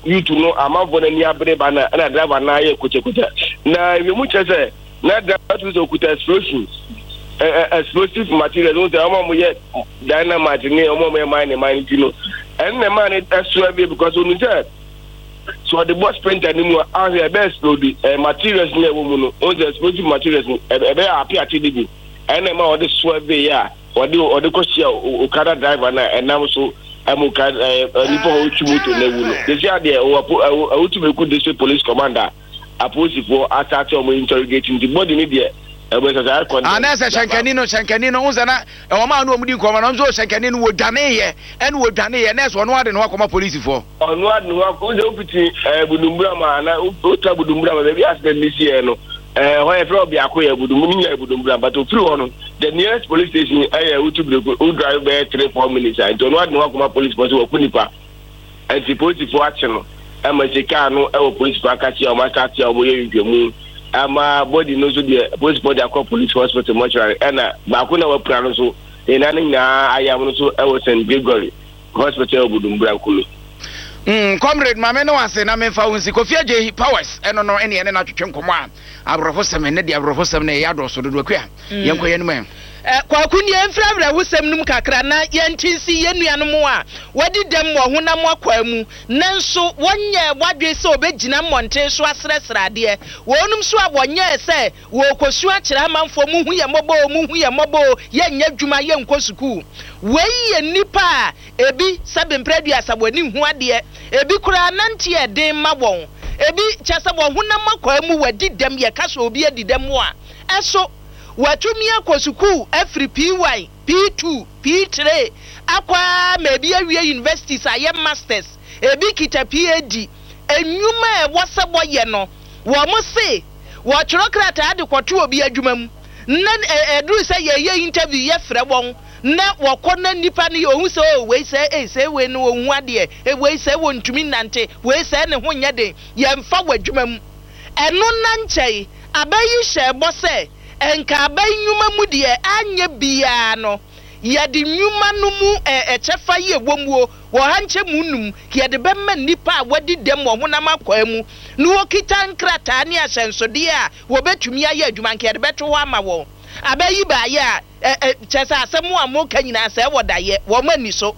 youth no amanfoɔ no ani abere ba na ɛna driver no ayɛ kokyɛkokyɛ na ewiem kyerɛ sɛ na driver to sɛ okuta explosion explosive materials wɔn sɛ wɔn a wɔyɛ dynamite ne wɔn a wɔyɛ mine mine ti no ɛno na ɛmaa no ɛso ɛbɛ because onu sɛ sɛ ɔde bɔ sprinter no mu a ahwɛ ɛbɛ explode ɛ materials no ɛwɔ mu no wɔn sɛ explosive materials no ɛbɛ ape ate de bi ɛna ɛma ɔde so ɛbɛ yɛ a ɔde ɔde kɔ hyia okada driver na ɛnam so ɛmu ka ɛɛ nipa a ɔtwi moto na ewu no sisi adeɛ ɔwɔ ɛwɔ ɛwɔ eku district police commander apolisifoɔ asate ɔmo interrogate nti body ne deɛ ɛbɛ sɛ sɛ ayɛ Ah, na sɛ hyɛnkani no hyɛnkani no n sɛ na ɛwɔ maa no ɔmo di nkɔmɔ no nso hyɛnkani no wɔ dwane yɛ ɛna wɔ dwane yɛ na ɛsɛ ɔno ade ne ho akɔma polisifoɔ. Ɔno ade ne ho akɔ sɛ wofiti Budumbura ma ana wota Budumbura ma baabi accident ne si yɛ no ɛɛ hɔ yɛ fɛ ɔbiako yɛ Budum ne nyɛ Budumbura, but ofiri hɔ no the nearest police station ɛyɛ Awutu Breku. Wo drive bɛyɛ 3-4 minutes a nti ɔno ade ne ho akɔma police fo sɛ wɔku nipa nti polisifoɔ akye no ɛma si kaa no ɛwɔ polisifoɔ akakye a wɔn asate a wɔyɛ nhwehwɛmu ama body no nso deɛ polisifoɔ de akɔ police hospital mortuary ɛna baako na wapira no nso ne nan no nyinaa ayam no nso ɛwɔ St Gregory Hospital ɛwɔ Budumbura Nkulu. Comrade, maame ne wase na memfa wo nsi Kofi Agye Powers ɛno no ɛne ɛne no atwetwe nkɔmmɔ a aborɔfo sɛm ɛnɛ deɛ aborɔfo sɛm no ɛyɛ adɔɔso dodo akua yɛnkɔ yɛn mu ɛ. Kwaku, nie mfiri awerɛhosɛm no mu kakra na yɛnte nsi yɛn nuanom a wɔadi dɛm wɔ honam akwaa mu nanso wɔnyɛ wadwe sɛ wɔbɛgyina mmɔnten so asrɛsrɛ adeɛ, wɔnom nso a wɔnyɛɛ sɛ wɔrekɔsu akyerɛ amanfoɔ, muhu yɛ mmɔbɔ o, muhu yɛ mmɔbɔ o, yɛnyɛ adwuma, yɛnkɔ sukuu. Wei yɛ nnipa a ebi sɛbe mprɛ 30 wɔani hu adeɛ, ebi koraa nante yɛ den ma wɔn, ebi kyɛ sɛ wɔn honam akwaa mu wɔadi dɛm. Yɛka sɛ obi adi dɛm a ɛso wɔatumi akɔ sukuu afiri P1, P2, P3 akɔ a ma ebi awie universities ayɛ masters, ebi kita PhD. Enwuma a ɛwɔ sɛ wɔyɛ no wɔn se wɔtwerɛ krataa de kɔto obi adwuma mu na ɛduru sɛ yɛyɛ interview, yɛfrɛ wɔn na wɔkɔ na nipa no yɛ ohun sɛ o wei sɛ ei sɛ wei no ohun adeɛ e wei sɛ wɔntumi nante, wei sɛ ne ho nyɛ den, yɛmfa wɔ adwuma mu. Ɛno na nkyɛn abɛyi hyɛ bɔ sɛ nka aban nnwuma mu deɛ anyɛ biara no yɛde nnwuma no mu ɛkyɛfa yi ɛwɔ mu o wɔ ha nkyɛn mu num yɛde bɛma nnipa a wɔadi dɛm wɔ honam akwaa mu na wɔkita nkrataa ne ahyɛnsodeɛ a wɔbɛtumi ayɛ adwuma nka yɛde bɛto hɔ ama wɔn. Abɛyi baayɛ a ɛ ɛ kyɛ sɛ asɛm a moka nyinaa sɛ ɛwɔ dayɛ wɔn ani so.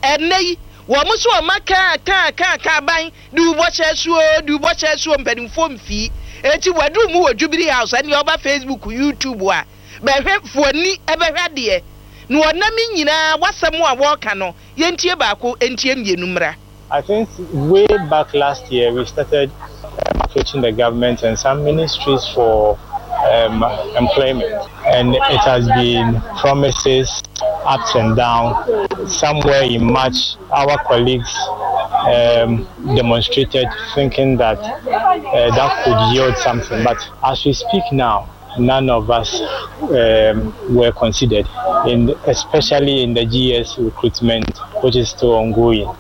Ɛnɛ yi wɔn nso wɔn aka aka aka aka aban de wobɔhyɛ asuo de wobɔhyɛ asuo mpanimfoɔ mfii eti wɔaduru mu wɔ Jubilee House. Ɛnea ɔba Facebook, YouTube a bɛhwɛ fuani ɛbɛhwɛ adeɛ na wɔnam nyinaa wasɛm a wɔreka no yɛntie baako ntie mmienu mmra. I think way back last year we started approaching the government and some ministries for employment, and it has been promises, ups and downs. Somewhere in March, our colleagues demonstrated, thinking that that could yield something. But as we speak now, none of us were considered, in especially in the GES recruitment, which is still ongoing.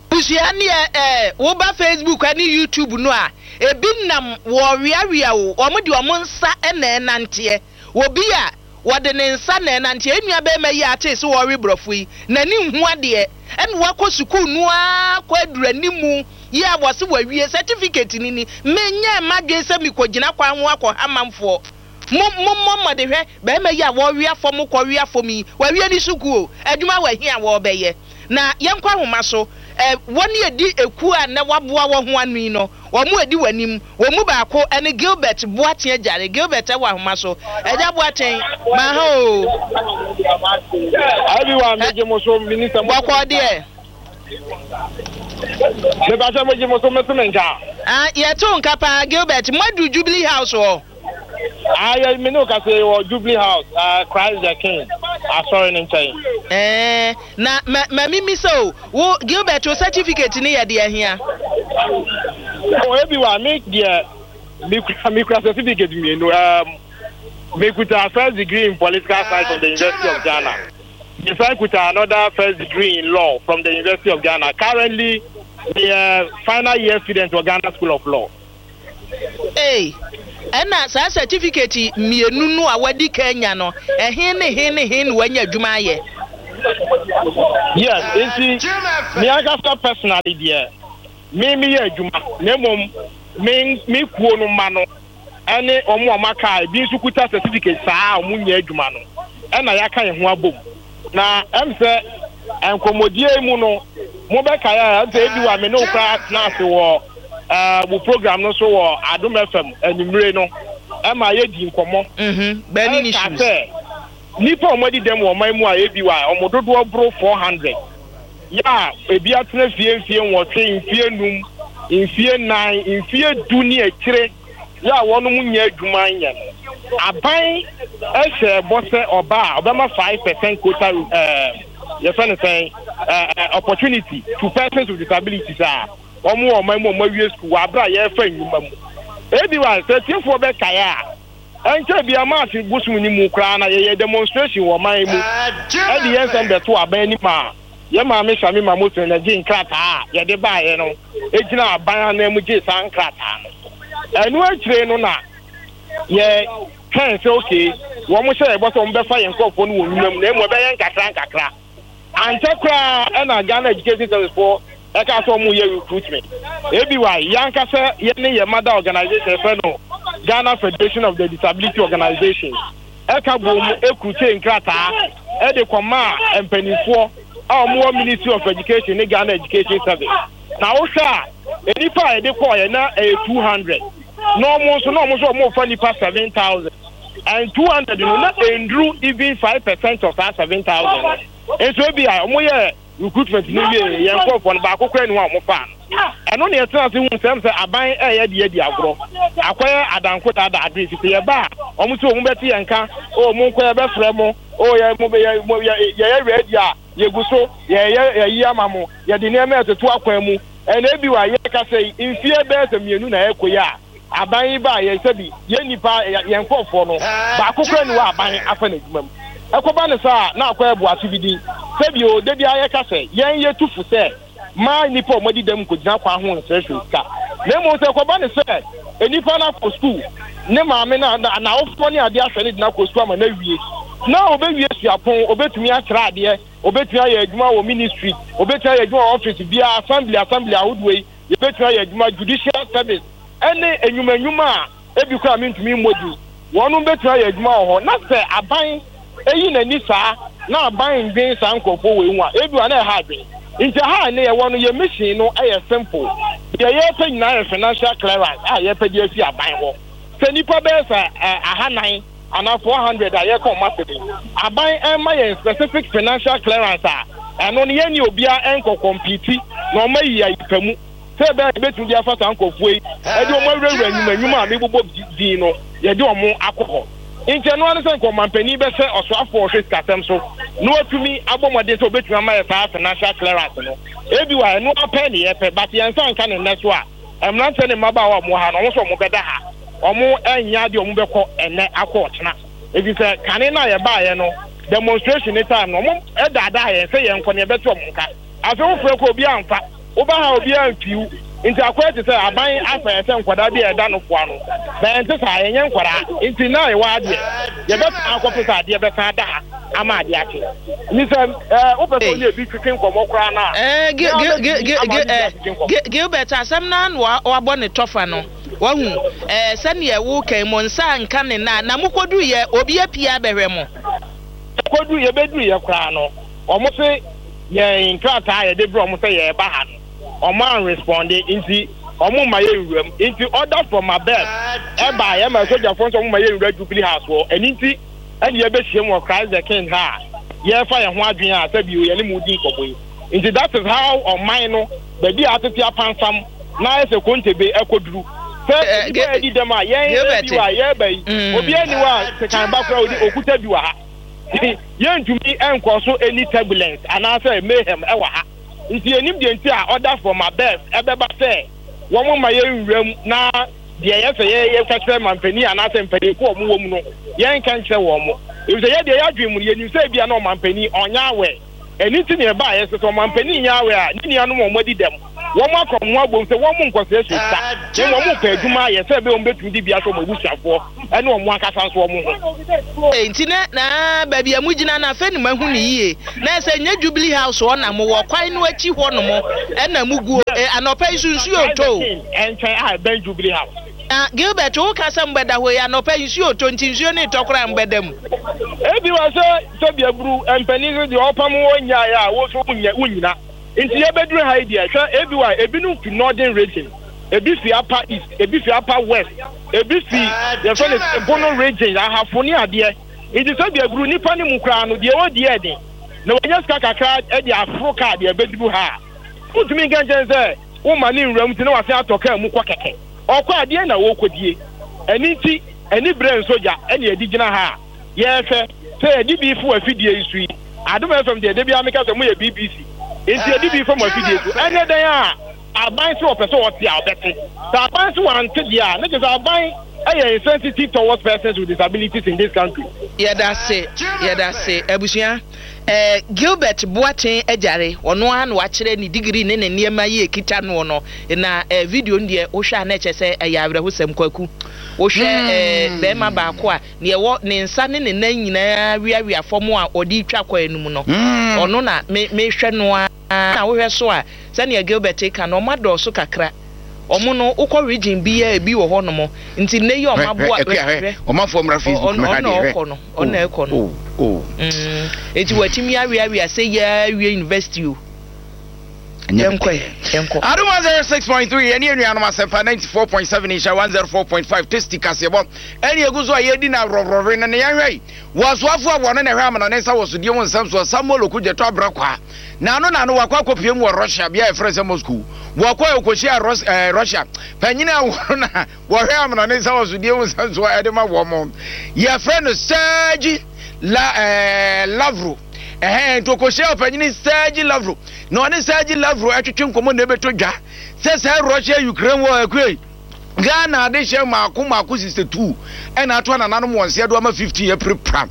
Busua neɛ woba Facebook ne YouTube no a ebi nam wɔweawea o wɔn de wɔn nsa na ɛnanteɛ obi a wɔde ne nsa na ɛnanteɛ. Enua bɛrima yi a ate sɛ wɔrewe borɔfo yi n'ani nhu adeɛ ɛna wakɔ sukuu no ara kɔ aduru animu yi a wɔse wɔawie certificate ni ni menyɛ mmadwe sɛ mekɔgyina kwan ho akɔ ha manfoɔ mo mo mo mmɔde hwɛ bɛrima yi a wɔwea fam kɔ wea fam yi wɔawie ne sukuu o adwuma wɔ ahi a wɔrebɛyɛ na yɛnkɔ ahoma so ɛ wɔn edi ekuo a na waboa wɔn ho ano yi no wɔn mu edi wɔn anim wɔn mu baako ɛne Gilbert Boateng Agyare. Gilbert ɛwɔ ahoma so. Ɛgya Boateng, maa ha o. Abiwa megye mo so minister mo. Bɔkɔ deɛ. Mepa sɛ mogye mo so mese me nka. Ah, yɛto nka paa. Gilbert, mo adu Jubilee House hɔ? Ah, yɛ me ne wo kasa yi wɔ Jubilee House, Christ the King asɔre ne nkyɛn. Ɛɛ na ma ma mimi sɛ o wo Gilbert o certificate ne yɛ deɛ hia? O ebi wa me deɛ mekura certificate mmienu. Mekuta first degree in political science from the University of Ghana. Mesan kuta another first degree in law from the University of Ghana. Currently, the final year student wɔ Ghana School of Law. Ee, ɛna saa certificate mmienu no a wadi kan nya no, ɛhe ne he ne he na wanya adwuma ayɛ? Yes, nti me ankasa personally deɛ me meyɛ adwuma na mmom me me kuo no mma no ɛne wɔn a wɔaka a ebi nso kuta certificate saa a wɔn nyɛ adwuma no ɛna yɛaka yɛn ho abom na ɛm sɛ nkɔmmɔdie yi mu no mobɛkae a ɛm sɛ ebi wɔ a me ne wo koraa tena ase wɔ ɛɛ wo program no so wɔ Adom FM anwummere no ɛma yɛdi nkɔmmɔ Burning ɛka issues. sɛ nnipa a wɔadi dɛm wɔ ɔman mu a ebi wɔ a wɔn dodoɔ boro 400 yɛ a ebi atena fie mfie nwɔtwe, mfie num, mfie nnan, mfie du ne akyire yɛ a wɔnom nyɛ adwuma nyɛ no, aban hyɛɛ bɔ sɛ ɔba a ɔbɛma 5% quota ɛɛ yɛfɛ no sɛn ɛɛ opportunity to persons with disabilities a wɔn wɔ ɔman mu a wɔn awie sukuu wɔ abere a yɛrefa nnwuma mu. Ebi wa sɛ tiefoɔ bɛkae a ɛnkyɛ bia March bosom no mu koraa na yɛyɛ demonstration wɔ ɔman mu ɛde yɛn nsɛm bɛto aban anim a yɛn maame Shamima Mosin na gye nkrataa a yɛde baeɛ no gyina aban anan mu gyee saa nkrataa no. Ɛno akyire no na yɛ twɛn sɛ okay wɔn hyɛ yɛbɔ sɛ wɔn bɛfa yɛn nkurɔfoɔ no wɔ nnwuma mu na emu ɛbɛyɛ nkakra nkakra. Ankyɛ koraa ɛna Ghana Education Service foɔ ɛka sɛ wɔn yɛ recruitment. ABY yɛn ankasa yɛne yɛn mother organization yɛfrɛ no Ghana Federation of the Disability Organizations ɛka bom ekurukyee nkrataa ɛde kɔmaa mpanimfoɔ a wɔn wɔ Ministry of Education ne Ghana Education Service. Na wohwɛ a nnipa a yɛde kɔɔyɛ na ɛyɛ 200 na wɔn nso na wɔn nso wɔn fa nnipa 7000 and 200 no na ɛnduru even 5% of saa 7000 no. Nso ebi a wɔn yɛ recruitment no wie yɛn nkurɔfoɔ no baako koraa ni hɔ a wɔn faa no. Ɛno na yɛtena ase hu sɛm sɛ aban ɛyɛ deɛ adi agorɔ akɔyɛ adanko daadaa adwene fi sɛ yɛba a wɔn sɛ wɔn bɛte yɛn nka o mo nkɔ yɛbɛfrɛ mo o yɛ mo yɛ mo yɛ yɛyɛ ready a yɛgu so yɛyɛ yɛyi ama mo yɛde nneɛma ɛtoto akwan mu ɛna ebi wɔ a yɛka sɛ mfie bɛyɛ sɛ mmienu na ɛkɔ yi a aban yi ba yɛ sɛbi yɛn nipa yɛn nkurɔfoɔ no baako kora ni wɔ aban afa n'adwuma mu ɛkɔba ne saa na akɔ ɛbo aso bi din sɛbi o de bi a yɛka sɛ yɛn yɛ tu fo sɛ maa nipa a wɔadi dɛm nkɔgyina kwan ho nsrɛsrɛ sika na mmom sɛ ɛkɔba ne sɛ nipa no akɔ sukuu ne maame na n'awofoɔ ne adeɛ ahwɛ ne de no akɔ sukuu ama no awie na obɛwie suapɔn obɛtumi akyerɛ adeɛ obɛtumi ayɛ adwuma wɔ ministry obɛtumi ayɛ adwuma wɔ office biara assembly assembly ahodoɔ yi yɛbɛtumi ayɛ adwuma judicial service ɛne enyuma enyuma a ebi koraa mentumi mmɔ din wɔn bɛtumi ayɛ adwuma wɔ hɔ na sɛ aban eyi n'ani saa na aban ndwen saa nkurɔfoɔ wɔ ehu a ebi wa na ɛha adwen nti ha ne yɛwɔ no yɛ mission no ɛyɛ simple deɛ yɛpɛ nyinaa yɛ financial clearance a yɛpɛ de afi aban hɔ sɛ nipa bɛyɛ sɛ ɛ ahanan anaa 400 a yɛkɔ ɔmo ase de aban ɛma yɛn specific financial clearance a ɛno no yɛn ni obiara ɛnkɔ compete na ɔmo ayi ayi pa mu sɛ ɛbɛyɛ yɛbɛtumi de afa saa nkurɔfoɔ yi ɛde ɔmo awurawura nnwuma nnwuma a mebobɔ din no yɛde ɔmo akɔ hɔ nti ɛno ano sɛ nkɔmampanin bɛsɛ ɔsoafoɔ ɔhwɛ sikasɛm so na watumi abɔ mmɔden sɛ obɛtumi ama yɛ saa financial clearance no ebi wɔ ɛno apɛ ne yɛpɛ but yɛn nsa nka ne nnɛ so a mmeranteɛ ne mmabaawa a wɔwɔ ha no wɔn nso wɔn bɛda ha wɔn ɛnyɛ adeɛ wɔn bɛkɔ ɛnɛ akɔ ɔkyena efi sɛ kane no a yɛbaeɛ no demonstration ne time no wɔn ɛdaadaa yɛn sɛ yɛn nkɔ ne yɛbɛte wɔn nka afei wofrɛ kɔ obi amfa woba ha obi amfiw nti akɔyɛ te sɛ aban afa yɛ sɛ nkwadaa bi a ɛda no foa no bɛn te saa yɛnyɛ nkwadaa nti na yɛwɔ adeɛ yɛbɛsan akɔpɛ sɛ adeɛ bɛsan ada ha ama adeɛ akye ni sɛ ɛɛ wopɛ sɛ ɔne ebi twetwe nkɔmɔ koraa na Gilbert asɛm no ano wabɔ ne tɔfa no wahu ɛɛ sɛnea ɛwo kan mo nsa nka ne na na mokɔdu yɛ obi apia abɛhwɛ mo. Yɛkɔdu yɛbɛduru yɛ koraa no wɔn se yɛn nkrataa a yɛde brɛ wɔn sɛ yɛreba ha no wɔn anresponde nti wɔn mma yɛn nwura mu nti order from above ɛba yɛn ma sogyafoɔ nso wɔn mma yɛn nwura Jubilee House hɔ ɛni nti ɛna yɛbɛhyia mu wɔ Christ the King ha a yɛrefa yɛn ho adwene a sɛbi yɛne mu di nkɔmɔ yi nti that is how ɔman no baabi a atete apansam na ayɛ sɛ kontebe ɛkɔduru sɛ nipa yɛ di dɛm a yɛn ebi wɔ a yɛreba yi obi ani wɔ a sekan ba koraa odi okuta bi wɔ ha yɛntumi nkɔ so any turbulence anaasɛ mayhem ɛwɔ ha nti yɛnim deɛ nti a order from above ɛbɛba sɛ wɔn ma yɛn nwura mu na deɛ yɛ sɛ yɛ yɛka kyerɛ mampanin anaasɛ mpanimfoɔ a wɔn wɔ mu no yɛnka nkyerɛ wɔn mo efisɛ yɛ deɛ yɛadwene mu no yɛnim sɛ ebia na ɔmampanin ɔnyɛ awɛ ɛni ti na ɛba yɛ sɛ sɛ ɔmampanin nyɛ awɛ a ne nuanom a wɔn adi dɛm. Wɔn aka wɔn ho abom sɛ wɔn nkɔsrɛsrɛ sika, na mmom wɔrepɛ adwuma ayɛ sɛ ɛbɛyɛ wɔn bɛtumi de bi ahwɛ wɔn abusuafoɔ ne wɔn ankasa nso wɔn ho. Enti na na baabi a mugyina no afei na mahu no yie. Na ɛsɛ nyɛ Jubilee House hɔ na mowɔ, kwan no akyi hɔnom na muguo. Anɔpa yi nso nsuo retɔ o. Nkyɛn a ɛbɛn Jubilee House. Na Gilbert, woka sɛ mobɛda hɔ yi, anɔpa yi nsuo retɔ nti nsuo no retɔ koraa a mobɛda mu? Ebi wɔ sɛ sɛbi aburu mpanin so deɛ ɔpam wo nyaeɛ a wo nso wonnyina. Nti yɛbɛduru ha yi deɛ, hwɛ ebi wɔ a ebinom fi Northern Region, ebi fi Upper East, ebi fi Upper West, ebi fi yɛfrɛ no sɛ Bono Region, Ahafo ne adeɛ. Nti sɛbi aburu nnipa no mu koraa no deɛ ɔredi yɛ den na wanya sika kakra de aforo kaa deɛ ɛbɛduru ha a, wontumi nka nkyɛn sɛ woma ne nwura mu nti na wasan atɔ kaa mu kɔ kɛkɛ. Ɔkɔ a, deɛn na ɔrekɔdie? Ɛno nti, aniberɛ nsɔ gya na yɛde gyina ha a yɛrehwɛ sɛ yɛde bi fo afidie yi so yi. Adom FM deɛ, da biara meka sɛ moyɛ BBC, nti yɛde bi fa mo afidie so. Ɛnyɛ dɛn a, aban se ɔpɛ sɛ ɔte a, ɔbɛte. Sɛ aban se wante deɛ a, na kyerɛ sɛ aban yɛ insensitive towards persons with disabilities in this country. Yɛdase, yɛdase abusua. Eh, Gilbert Boateng Agyare, ɔno ara na wakyerɛ ne degree ne ne nneɛma yi a ɛkita noɔ no, na eh, video no deɛ wohwɛ a na ɛkyerɛ sɛ ɛyɛ awerɛhosɛm. Kwaku, wohwɛ eh, barima baako a deɛ ɛwɔ ne nsa ne ne nan nyinaa weawea fam a ɔde retwa kwan no mu no, ɔno na me mehwɛ no ara. Na wohwɛ so a, sɛdeɛ Gilbert reka no, wɔadɔɔso kakra. Wɔn no, wokɔ region biara ebi wɔ hɔnom. Nti nnɛ yi a Hwɛ, hwɛ, wɔaboa, Akua, hwɛ, hwɛ. hwɛ. Ɔmanfoɔ mmra Facebook Ɔ, mmɛhwɛ ɔno na adeɛ, hwɛ. ɔkɔ no, ɔno Oh, na ɛkɔ no. oh, oh. Mm, enti watumi aweawea sɛ yi ara awie university o. Ɛnyɛ Yɛnkɔ ɛ, yɛnkɔ. Adom 106.3 yɛne anuanom Asɛmpa 94.7 Nhyira 104.5 Tasty kaseɛbɔ ɛne ɛgu so a yɛredi no aworɔworɔwe no ne yɛnhwɛ yi wɔ asoafoɔ a wɔne na ɛhwɛ amena ne nsa wɔ sodie ho nsɛm soɔ Samuel Okudzeto Abrɛkwaa Naano naano wakɔ akɔpue mu wɔ Russia bea a yɛfrɛ sɛ Moscow. Wɔkɔɛ ɔkɔhyiaa Rus eh, Russia panyin a wɔn na wɔhwɛ amanɔne nsawɔsodie ho nsɛnsoɔ ɛde ma wɔn. Yɛfrɛ no Sergei La eh, Lavrov. Ɛhɛn, nti ɔkɔhyiaa ɔpanyin Sergei Lavrov na ɔne Sergei Lavrov ɛtwetwe nkɔmmɔ na ɛbɛtɔ dwa sɛ saa Russia Ukraine war akue Ghana adehyɛ mmaako mmaako 62 ɛna ato anananom wɔn nseɛ do ama 15 apirapira.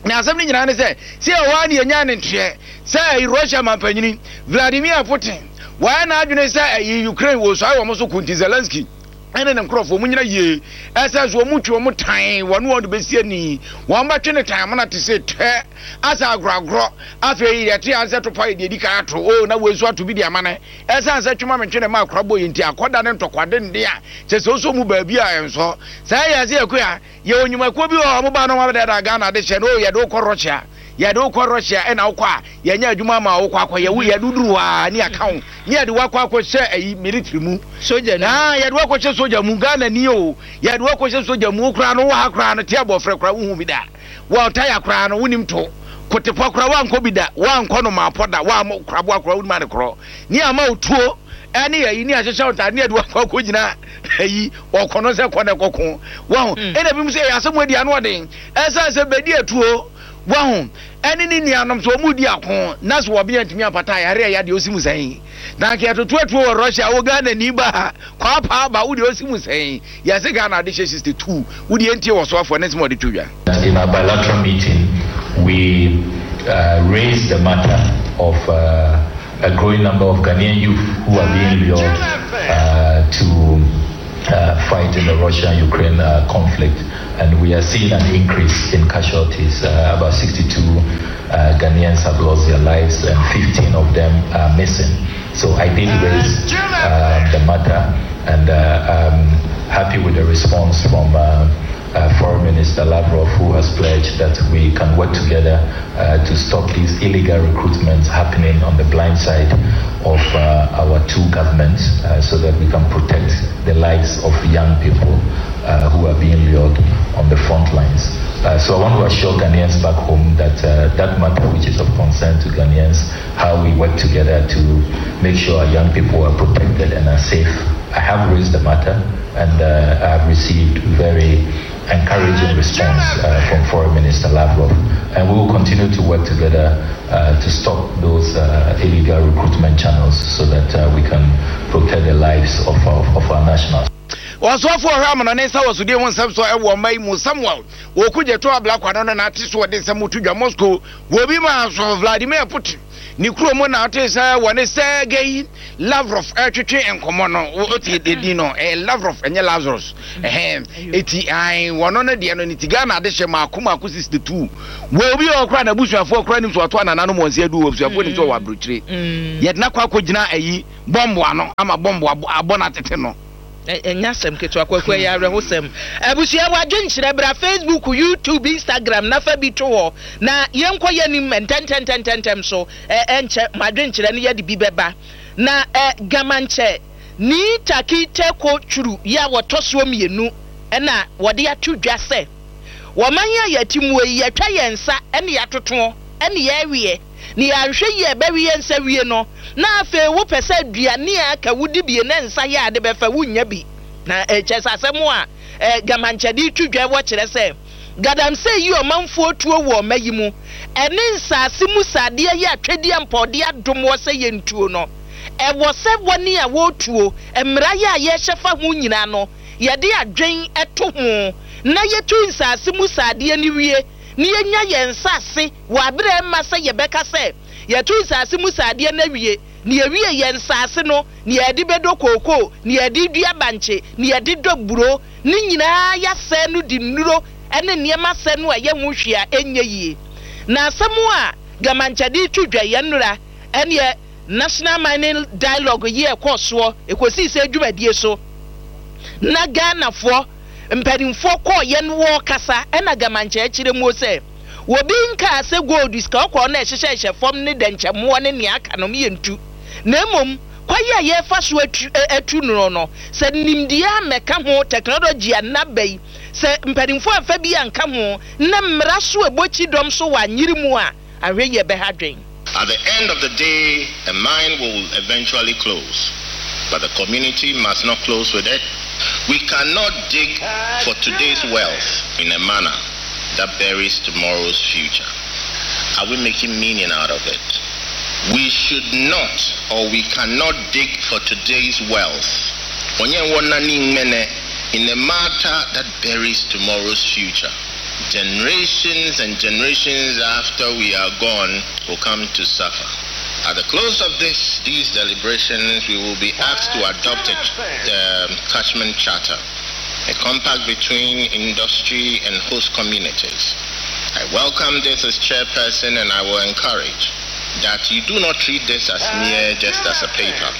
Na asɛm no nyinaa ne sɛ, sɛ ɛhɔ ara na yɛnyaa ne nteɛ sɛ ɛyi Russia mampanyini Vladimir Putin wayɛ n'adwene sɛ ɛyi Ukraine wɔsuae wɔn so ko nti Zelensky ne ne nkurɔfoɔ wɔn nyina yie ɛsɛ so wɔn twe wɔn tan wɔne wɔn de bɛsi ani wɔn bɛtwe ne tan amena te sɛ tɛ asɛ agorɔagorɔ afei yɛte ansɛ topa yɛ deɛ di kan ato o na wei nso ato bi de ama ne ɛsan sɛ twema mentwe ne ma akora bɔ yɛ nti akɔda ne ntɔkwa denden a kyɛ sɛ wosɔ mu baabi a ɛnsɔ saa yɛ sɛ yɛkɔ a Yɛwɔ nnwumakuo bi wɔ hɔ a wɔn ba no wɔn abɛdaadaa Ghana de hyɛ no oh yɛde wo kɔ Russia yɛde wo kɔ Russia ɛna wokɔ a yɛnyɛ adwuma ama wo wokɔ akɔyɛ wo yɛde wo duru hɔ a ne yɛaka wo ne yɛde wo akɔ akɔhyɛ ayi military mu Sogya no mu. Ah yɛde wo akɔhyɛ sogya mu Ghana ni o yɛde wo akɔhyɛ sogya mu wo koraa no wɔ ha koraa no te abɔfrɛ koraa wohu bi da wɔ taya koraa no wonim to kotepɔ koraa woankɔ bi da woankɔ no maapɔ da woammɔ koraboa koraa wonim ade korɔ ne ama wo tuo ɛne ayi ne ahyehyɛ wo ntaade ne yɛde wo akɔ akɔgyina ayi ɔkɔ no sɛ kɔ na ɛkɔko wahu hmm. ɛna binom sɛ ɛyɛ asɛm adi ano ɔden ɛsiane sɛ bɛdi atuo wahu ɛne ne nuanom sɛ ɔmu di ako na sɛ wɔbea ntumi ampata ayare ɛyɛ deɛ ɔsi mu sɛn na nka yɛtoto atuo wɔ Russia wo Ghana ni ba ha kwaapaa ba wo deɛ ɔsi mu sɛn yɛse Ghana ade hyɛ 62 wo deɛ ntie wɔ soafoɔ ne nsɛm ɔde to dwa. In our bilateral meeting, we uh, raised the matter of uh, a growing number of Ghanaian youth who are being lured uh, to uh, fight in the Russia-Ukraine uh, conflict, and we are seeing an increase in casualties. Uh, about 62 uh, Ghanaians have lost their lives, and 15 of them are missing. So I did raise um, the matter, and uh, I'm happy with the response from. Uh, Foreign Minister Lavrov, who has pledged that we can work together uh, to stop these illegal recruitments happening on the blind side of uh, our two governments uh, so that we can protect the lives of young people uh, who are being lured on the front lines. Uh, so I want to assure Ghanaians back home that that matter, which is of concern to Ghanaians, how we work together to make sure our young people are protected and are safe. I have raised the matter and I have received very encouraging response uh, from Foreign Minister Lavrov. And we will continue to work together uh, to stop those uh, illegal recruitment channels so that uh, we can protect the lives of our, of our nationals. Ɔsoafo ɔhwɛ amanɔne nsa wɔ sodie ho nsɛm so wɔ ɔman yi mu Samuel Okudzeto Ablakwa no na n'ate so ɔde nsɛm to dwa Moscow wɔ bi maa so Vladimir Putin. Ne kurom na ɔtee sɛ wɔne Sergei Lavrov retwetwe nkɔmmɔ no. Wote edin no, ɛyɛ Lavrov, ɛnyɛ Lazarus. Ɛhɛn, eti ae, wɔno no deɛ no, ne ti Ghana adehyɛ mmaako mmaako 62. Wɔ obi a ɔkora n'abusuafoɔ koraa nim sɛ ɔto anananom wɔn nsa adu, wɔ abusuafoɔ nim sɛ ɔwɔ aburokyire. Yɛde no akɔ akɔgyina ayi bɔmbo ano ama bɔmbo abɔ no atete no. Ɛnyɛ asɛm ketewa Kwaku, ɛyɛ awerɛhosɛm. Abusua w'adwenkyerɛ bra Facebook, YouTube, Instagram na fa bi to hɔ na yɛnkɔ yɛnim ntɛntɛntɛntɛntɛm so ɛnkyɛ mo adwenkyerɛ no yɛde bi bɛba. Na Gamankyɛ Nii Taki Teko Twuru yi a wɔtɔ soɔ mienu na wɔde ato dwa sɛ wɔ man yi a yɛte muo yi yɛatwa yɛn nsa ne yɛatotoɔ ne yɛreweɛ. Na yɛanhwɛ yie a ɛbɛwe yɛn nsa wie no, na afei wopɛ sɛ aduane a aka wodi bie na nsa yɛ a ade bɛfa wonnya bi. Na kyerɛ sɛ asɛm a Gamankyɛ de reto dwa wɔ kyerɛ sɛ Galamsey yi ɔmanfoɔ tuo wɔ ɔma yi mu ɛne nsaase mu sadeɛ yɛ atwɛdeɛ a mpɔɔdeɛ adom wɔ sɛ yɛntuo no. Ɛwɔ sɛ wɔne a wɔretuo, mmara yɛ a yɛrehyɛ fa ho nyinaa no yɛde adwen to ho na yɛtu nsaase mu sadeɛ no wie na yɛnya yɛn nsase wɔ aberɛ a ɛmma sɛ yɛbɛka sɛ yɛto nsase mu sradeɛ no awie, na yɛwie yɛn nsase no, na yɛde bɛdɔ kookoo, na yɛde dua bankye, na yɛde dɔ buro, ne nyinaa yɛasɛe no de nnuro ne nneɛma sɛ no a ɛyɛ ho hwee a ɛnyɛ yie. Na asɛm a Gamankyɛ de reto dwa yi nnora ɛneɛ National Mining Dialogue yi a ɛkɔɔ soɔ ɛkɔsii sɛ dwumadie so na Ghanafoɔ mpanimfoɔ kɔɔeɛ no wɔrekasa ɛna Gamankyɛ kyerɛ muo sɛ Obi nkaa sɛ gold, sika kɔkɔɔ no a ɛhyehyɛhyehyɛ fam ne dɛnkyɛmmoɔ ne nea aka no yɛ ntu, na mmom kwan a yɛrefa so atu atu no no, sɛ nimdeɛ ammɛka ho, technology a nnɛ aba yi, sɛ mpanimfoɔ amfa bi anka ho, na mmara so ɛbɔ kyidɔm so wɔ anyere mu a, ahwɛ yie ɛbɛha adwene. At the end of the day, a mine will eventually close, but the community must not close with it. We cannot dig for today's wealth in a manner that buries tomorrow's future. Are we making meaning out of it? We should not or we cannot dig for today's wealth in a matter that buries tomorrow's future. Generations and generations after we are gone will come to suffer. At the close of this, these deliberations, we will be asked to adopt a catchment charter, a compact between industry and host communities. I welcome this as chairperson and I will encourage that you do not treat this as mere just as a paper.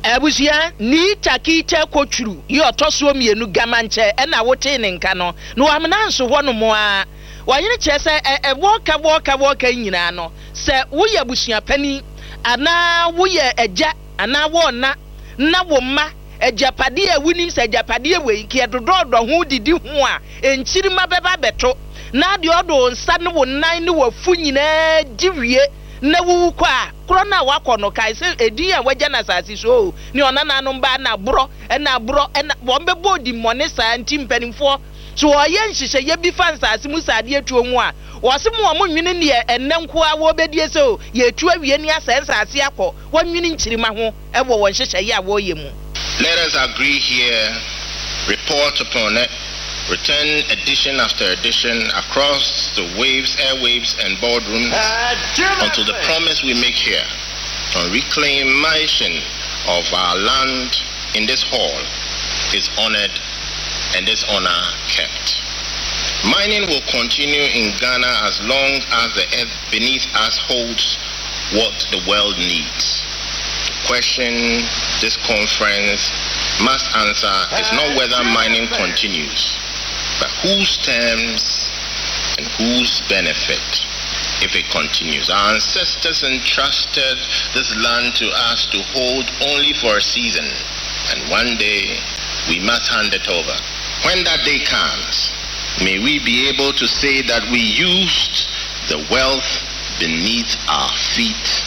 Abusua, Nii Takyi Kyɛ Kotwuru yi ɔtɔ soɔ mienu Gamankyɛ ɛna wotee ne nka no na wamena nso hɔ nom ara. Ɔhene kyerɛ sɛ ɛ wɔɔka wɔɔka wɔɔka yi nyinaa no sɛ woyɛ abusua panin anaa woyɛ agya anaa wɔɔna na wo mma agyapadeɛ a wonim sɛ agyapadeɛ wei nka yɛdodɔɔdɔ ho didi ho a nkyirimma bɛba abɛto na deɛ ɔde wo nsa ne wo nan ne w'afu nyinaa di wie na wuwu kɔ a, korɔ no a woakɔ no, kae sɛ edin a woagya no asase so oo, ne ɔnananom baa na aborɔ, na aborɔ, na wɔn bɛbɔ odimmɔne saa nti mpanimfoɔ, so wɔyɛ nhyehyɛeɛ bi fa nsase mu sradeɛ tuo ho a, wɔse mo a monnwene neɛ ɛnnɛ nko ara wɔrebɛdie sɛ oo, yɛretu awie ne asɛe nsase akɔ, wɔnnwene nkyirimma ho wɔ wɔn nhyehyɛeɛ a wɔreyɛ mu. Let us agree here, report upon it, return edition after edition across the waves, airwaves, and boardrooms until the promise we make here on reclamation of our land in this hall is honored and this honor kept. Mining will continue in Ghana as long as the earth beneath us holds what the world needs. The question this conference must answer is not whether mining continues, but whose terms and whose benefit if it continues. Our ancestors entrusted this land to us to hold only for a season, and one day we must hand it over. When that day comes, may we be able to say that we used the wealth beneath our feet.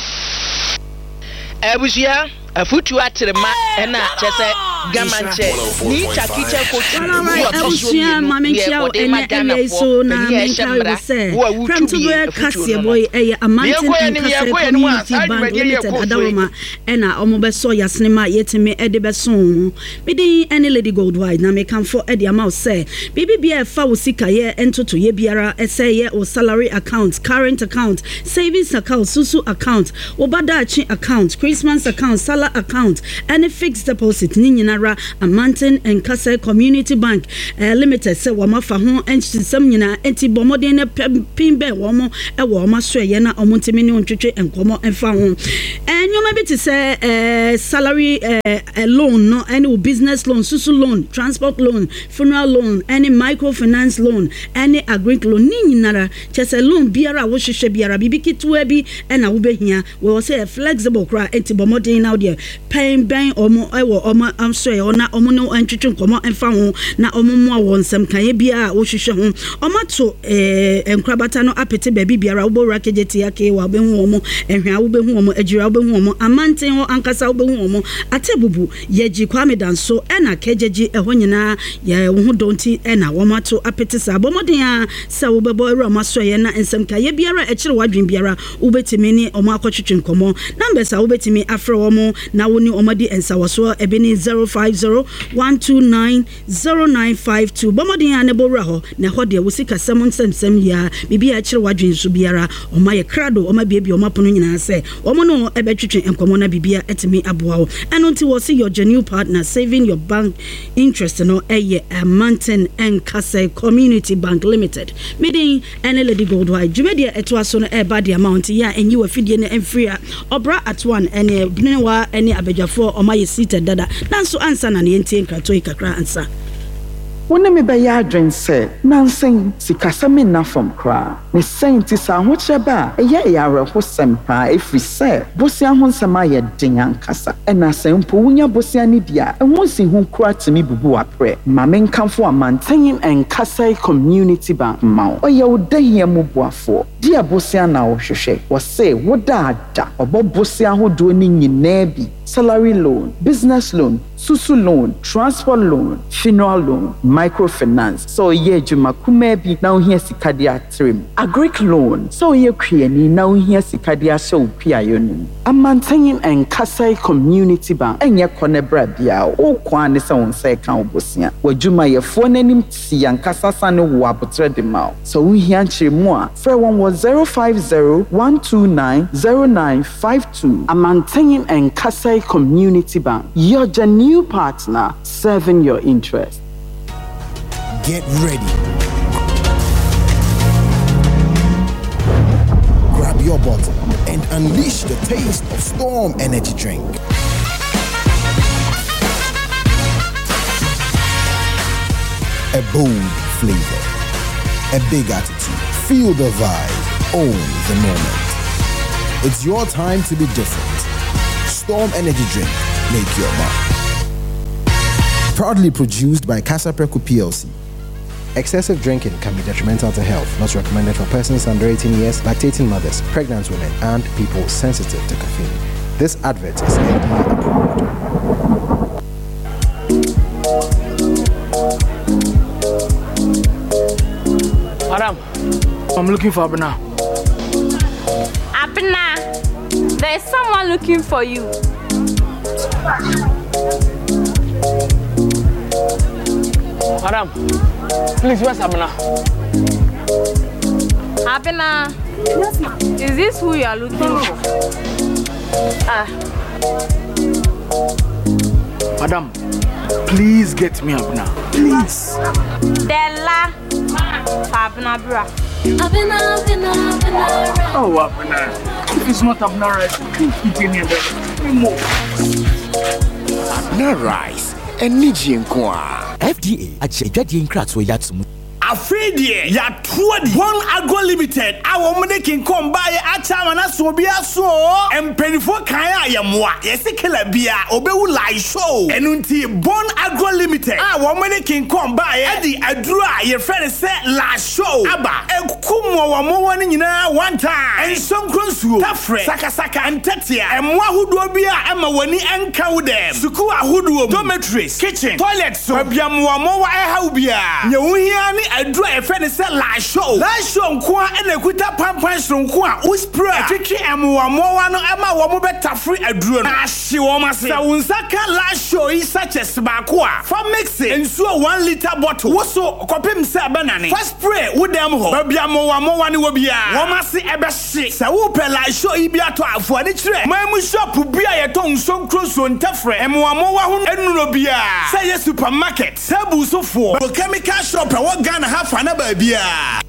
Abusua, afutuo atere ma ɛna kyɛ sɛ. Gamankyɛ Nii Takikyɛ Kotu Well, all ne right, ɔtɔ soɔ abusua mmienu ma deɛ menkyia wo wɔde ma ɛnɛ awia yi Ghanafoɔ so na panin a ɛhyɛ menkae wo mmara sɛ Wo a wotu prɛmtoberɛ bie afutuo no kaseɛbɔ no. yi ɛyɛ Deɛ Amanten ɛkɔ yɛ anim, Nkasɛɛ yɛkɔ yɛ anim a, Community saa Bank dwumadie yi Limited ɛkɔ so yi. adaworoma ɛna wɔn bɛsɔ yasene ma yɛtumi de bɛso wo ho. Me din ɛne Lady Goldwhite na mekamfo de ama wo sɛ biribi biara ɛfa wo sikayɛ ntotoyɛ biara ɛsɛ yɛ wo salary account, current account, savings account, susu account, Wo ba daakye account, Christmas account, Sallah account ɛne fixed deposit ne nyinara Amanten Nkasɛɛ Community Bank Limited sɛ wɔn afa ho nsɛm nyinaa enti bɔ mmɔden na pɛ pin bɛn wɔn wɔ wɔn asoɛeɛ na wɔn ntumi ne wo ntwetwe nkɔmmɔ mfa ho. Nneɛma bi te sɛ salary loan no ɛne wo business loan, susu loan, transport loan, funeral loan ɛne microfinance loan ɛne agric loan ne nyinara Kyerɛ sɛ loan biara a wohwehwɛ biara, biribi ketewa bi na wobɛhia. Wɔ sɛ ɛyɛ flexible koraa, enti bɔ mmɔden na wodeɛ pɛn bɛn wɔn wɔ wɔn asɔeɛ hɔ na wɔn ne wo ntwetwe nkɔmmɔ mfa ho na wɔn mmoa wɔ nsɛmkaeɛ biara a wohwehwɛ ho. Wɔato nkorabata no apete baabi biara, wobɔ wura Kejetia, Kewa wobɛhu wɔn, Ɛhwea wobɛhu wɔn, Agyira wobɛhu wɔn, Amanten hɔ ankasa wobɛhu wɔn, Atebubu, Yɛgye Kwame Danso ɛna Kɛgyɛgye ɛhɔ nyinaa yɛ wo ho dɔ nti na wɔn ato apete saa. Bɔ mmɔden ara sɛ wobɛbɔ awura wɔn asoɛeɛ na nsɛm nkaeɛ biara a ɛkyere w'adwene biara wobɛtumi ne wɔn akɔtwetwe nkɔmmɔ. Numbers a wobɛtumi afrɛ wɔn na wo ne wɔn adi nsawɔsoɔ ebi ne 050 129 0952. Bɔ mmɔden ara na bɔ wura hɔ na ɛhɔ deɛ wo sikasɛm nsɛmsɛm yi ara biribi a ɛkyere w'adwene nso biara wɔn ayɛ krado wɔn abuebue wɔn apono nyinaa sɛ Wɔn ne wo bɛtwetwe nkɔmmɔ na biribiara atumi aboa wo. Ɛno nti wɔse your genuine partner saving your bank interest no yɛ Amanten Nkasɛe Community Bank Limited. Me din ne Lady Goldwhite. Dwumadie a ɛtoa so no ɛreba de ama wo nti yɛ a nyi w'afidie no mfiri a Ɔbra Atoan ne Benewa ne abadwafoɔ wɔn ayɛ seated dada. Nanso ansa na no yɛntie nkratoɔ yi kakra ansa. Wo ne me bɛyɛ adwene sɛ nnansa yi sikasɛm nna fam koraa. Ne saa nti, sɛ ahokyerɛ ba a, ɛyɛ yɛ awerɛhosɛm paa, ɛfiri sɛ bosea ho nsɛm ayɛ den ankasa. Ɛna sɛ mpo wonya bosea no bi a, ɛho nsiho koraa tumi bubu w'aprɛ. Ma menkamfo Amantanyin Nkasɛe Community Bank mma wo. Ɔyɛ wo dahia mu boafoɔ. Deɛ bosea na wohwehwɛ? Wɔse woda a da. Ɔbɔ bosea ahodoɔ no nyinaa bi, salary loan, business loan, Susu loan, transport loan, funeral loan, microfinance, sɛ woyɛ adwuma kumaa bi na wohia sika de atre mu, agric loan, sɛ woyɛ kuani na wohia sika de ahyɛ wo kuayɔ no mu. Amantanyin Nkasɛe Community Bank nyɛ kɔ na bra biara, wo ko ara ne sɛ wo nsa reka wo bosea. W'adwumayɛfoɔ no anim te ankasa sane wo aboterɛ de ma wo. Sɛ wohia nkyerɛmu a, frɛ wɔn wɔ 050 129 0952. Amantanyin Nkasɛe Community Bank, your genuine partner serving your interest. Get ready. Grab your bottle and unleash the taste of Storm Energy Drink. A bold flavor, a big attitude. Feel the vibe, own the moment. It's your time to be different. Storm Energy Drink, make your mark. Proudly produced by Kasapreko PLC. Excessive drinking can be detrimental to health, not recommended for persons under 18 years, lactating mothers, pregnant women, and people sensitive to caffeine. This advert is FDA approved. Madam, I'm looking for Abena. Abena, there's someone looking for you. Madam, please, where's Abena? Abena, yes, ma'am. Is this who you are looking for? Ah. Madam, please get me Abena. Please. Della. Abena bra. Abena, Abena, Abena. Oh, Abena. If it's not Abena rice, I can't eat any other. More. Abena rice. Anigye nko ara. FDA agye adwadie nkratoɔ yi ato mu. Afei deɛ yɛato adi. Bon Agro Limited a wɔn de King Kong baeɛ akyɛ ama no aso obiara so oo. Mpaninfoɔ kae a yɛmmoa. Yɛse killer biara ɔbɛwu lie show. Ɛno nti Bon Agro Limited a wɔn de King Kong baeɛ de aduro a yɛfrɛ no sɛ lie show aba. Ɛku mmoawammoawa no nyinaa one time. Nsonkro nsuo, tafrɛ, sakasaka, ntɛtea, mmoa ahodoɔ bi a ɛma w'ani nka wo dɛm, sukuu ahodoɔ mu, dormitories, kitchen, toilet so, baabi a mmoawammoawa ɛha wo biara. Nea wohia ara ne aduru a yɛfrɛ no sɛ Lasho. Lasho nko ara na ɛkuta pampan soronko a wo spray a, ɛtwetwe mmoawammoawa no ma wɔbɛtafere aduro no na ahye wɔn ase. Sɛ wo nsa ka Lasho yi sachets baako a, fa mixe nsuo one litre bottle wo so kɔpem sɛ ɛbɛnane. Fa spray wo dan mu hɔ, baabi a mmoawammoawa no wɔ biara, wɔn ase bɛhye. Sɛ wopɛ Lasho yi bi atɔ a, fa w'ani kyerɛ man mu shop bi a yɛtɔn nsuo nkuro ntɛfrɛ, mmoawammoawa ho nnuro biara, sɛ ɛyɛ supermarket, table so foɔ, chemical shop ɛwɔ Ghana ha fa na baabiara.